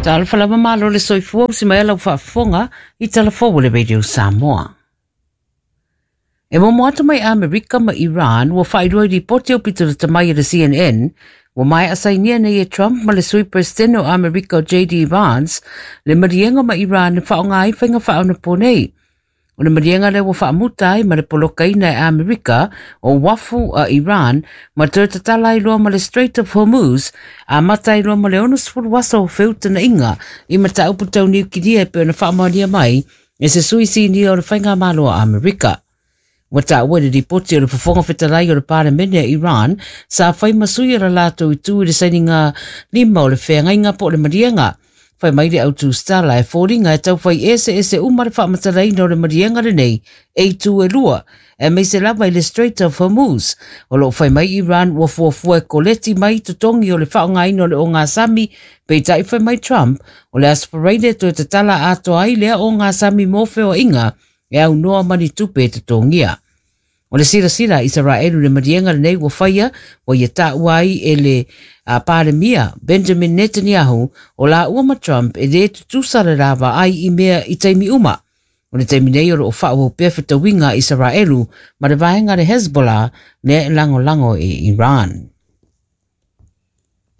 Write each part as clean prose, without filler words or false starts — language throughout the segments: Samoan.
Talofa lava malo le soifua usi mai lau faafofoga i talafou o le Radio Samoa. E momo atu mai Amerika ma Iran ua faailoa i lipoti aupito lata mai a le CNN ua maea sainia nei e Trump ma le Sui Peresetene o Amerika o JD Vance le maliega ma Iran e faaaoga ai faiga faaonaponei. O le maliega lea ua faamuta ai ma le polokaina e Amerika o uafu a Iran ma toe tatala ai loa ma le Strait of Hormuz, amata ai loa ma le 60 aso o feutana'iga i mataupu tau niukilia e pei ona faamaonia mai e se sui sinia o le Faigamalo a Amerika. Ua taua i le lipoti o le Fofoga Fetalai o le Palemene a Iran sa fai ma sui o le latou itu i le sainiga lima o le feagaiga po o le maliega. Fai mai le autusitala e foliga e taufai eseese uma le faamatalaina o le maliega lenei e itu e lua, aemaise lava i le Strait of Hormuz. O lo o fai mai Iran ua fuafua e koleti mai totogi o le faaaogaina o le ogasami, peitai fai mai Trump o le Aso Faraile e toe tatala atoa ai lea ogasami mo feoaiga e aunoa ma ni tupe e totogia. O le silasila a Isaraelu i le maliega lenei ua faia, ua ia taua ai e le Palemia Benjamin Netanyahu o laua ma Trump e lē tutusa le la vaai i mea i taimi uma. O le taimi nei o lo o faaauau pea fetauiga a Isaraelu ma le vaega a le Hezbollah lea e lagolago e Iran.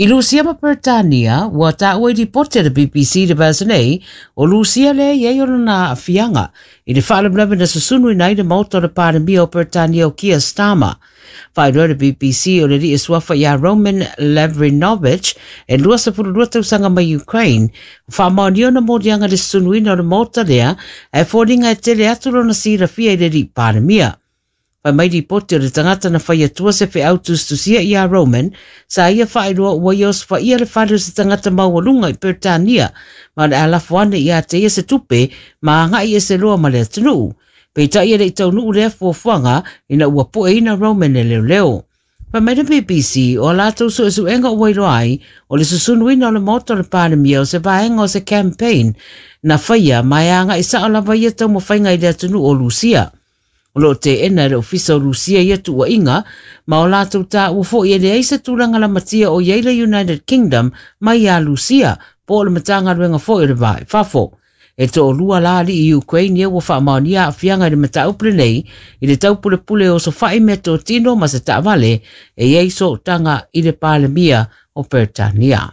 I Lusia ma Peretania, ua taua i lipoti a le BBC i le vaiaso nei, o Lusia lea e i ai ona aafiaga i le faalavelave na susunuina ai le maota o le Palemia o Peretania o Keir Starmer. Faailoa e le BBC o le alii e suafa ia Roman Lavrinovich e 22 tausaga mai Ukraine, ua faamaonia ona moliaga i le susunuina o le maota lea, ae foliga e tele atu lona silafia i le alii Palemia. Fai mai lipoti o le tagata na fai atua se feau tusitusia iā Roman, sa ia faailoa ua ia osofaia le fale o se tagata maualuga i Peretania ma o le a lafo ane iā te ia se tupe ma agaʻi ese loa ma le atunuu. Peitai e le i taunuu lea fuafuaga ina ua pueina Roman e leoleo. Fai mai le BBC, o a latou suesuega ua iloa ai, o le susunuina o le Maota o le Palemia o se vaega o se campaign na faia ma e agaʻi sao lava ia taumafaiga i le atunuu o Lusia. O lo o teena e le Ofisa o Lusia ia tuuaiga, ma o latou taua foi e leai se tulaga lamatia o i ai le United Kingdom mai iā Lusia po o le Matagaluega foi o le Va i Fafo. E toalua la alii Ukraine ia ua faamaonia aafiaga i le mataupu lenei i le taupulepule e osofai meatotino ma se taavale e i ai sootaga i le Palemia o Peretania.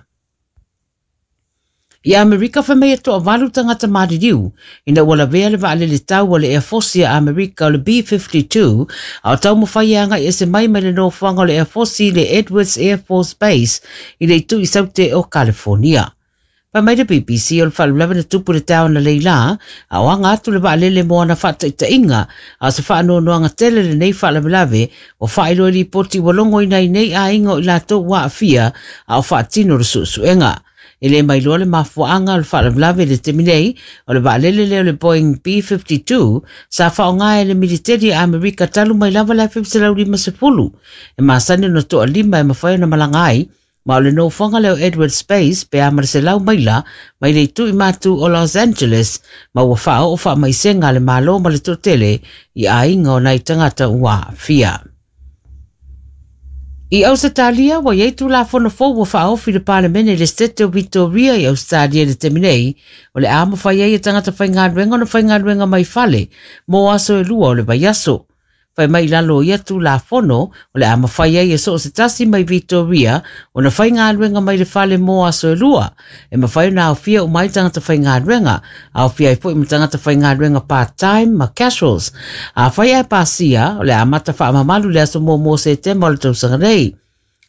I Amerika fai mai e toavalu tagata maliliu ina ua lavea le vaalele tau a le Airforce a Amerika o le B-52 a o taumafai e agai ese mai mai le nofoaga o le Airforce i le Edwards Air Force Base i le itu i saute o California. Fai mai le BBC o le faalavelave na tupu i le taeao analeila, a o aga atu le vaalele mo ana faataitaiga, a o se faanoanoaga tele lenei faalavelave ua faailoa i lipoti ua logoina ai nei aiga o i latou ua aafia a o faatino le suesuega. E le mailoa le mafuaaga o le faalavelave i le taimi nei, o le vaalele lea o le Boeing B-52 sa faaaoga e le militeli a Amerika talu mai lava le 1950. E masani ona toalima e mafai ona malaga ai, Ma o le nofoaga lea o Edwards Space pe a ma le 100 maila mai le itu i matu o Los Angeles, ma ua faaoo faamaisega a le Malo ma le toatele i aiga o nai tagata ua aafia. I Ausetalia, ua i ai Tulafono fou ua faaofi i le Palemene i le Setete o Vitoria i Ausetalia i le taimi nei, o le a mafai ai e tagata faigaluega ona faigaluega mai fale mo aso e lua o le vaiaso. Fai mai i lalo o ia Tulafono, o le a mafai ai e so o se tasi mai Vitoria ona faigaluega mai le fale mo aso e lua. E mafai ona aofia uma ai tagata faigaluega, aofia ai foi ma tagata faigaluega part-time ma casuals. Afai ae pasia, o le a amata faamamalu i le aso muamua o Setema o le tausaga nei.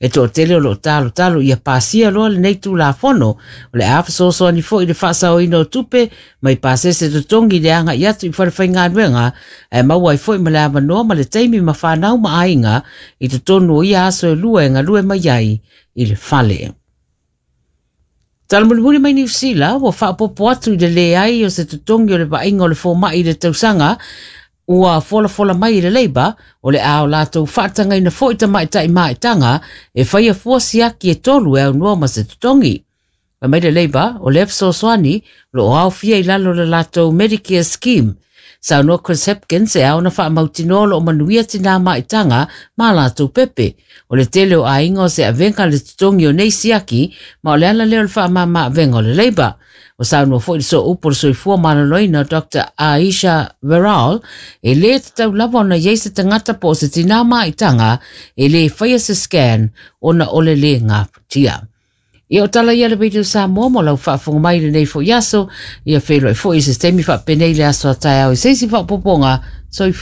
E toatele o lo o talotalo ia pasia loa lenei Tulafono, o le a fesoasoani foi i le faasaoina o tupe mai pasese totogi i le agai atu i falefaigaluega, ae maua ai foi ma le avanoa ma le taimi ma fanau ma aiga i totonu o ia aso e lua e galue mai ai i le fale. Tala mulimuli mai Niu Sila, ua faaopoopo atu i le leai o se totogi o le vaaiga o le fomai i le tausaga, Ua folafola mai e le Labour o le a o latou faatagaina foi tamaitai maetaga e faia fua siaki e tolu e aunoa ma se totogi. Fai mai le Labour o lea fesoasoani o lo o aofia i lalo o le latou Medicare Scheme. Saunoa Chris Hipkins e ao ona faamautinoa o loo manuia tinā maitaga ma latou pepe. O le tele o aiga o se avega le totogi o nei siaki ma o le ala lea o le faamāmā avega o le Labour. Ua saunoa foi le sooupu o le soifua maloloina Dr. Aisha Veral e lē tatau lava ona iai se tagata po o se tinā maitaga e lē faia se scan ona o le lē gafatia. Ia o tala ia le Radio Samoa mo lau faafofoga mai lenei foi aso. Ia feiloai foi i se taimi faapenei le aso a taeao i se isi faaopoopoga. Soifua.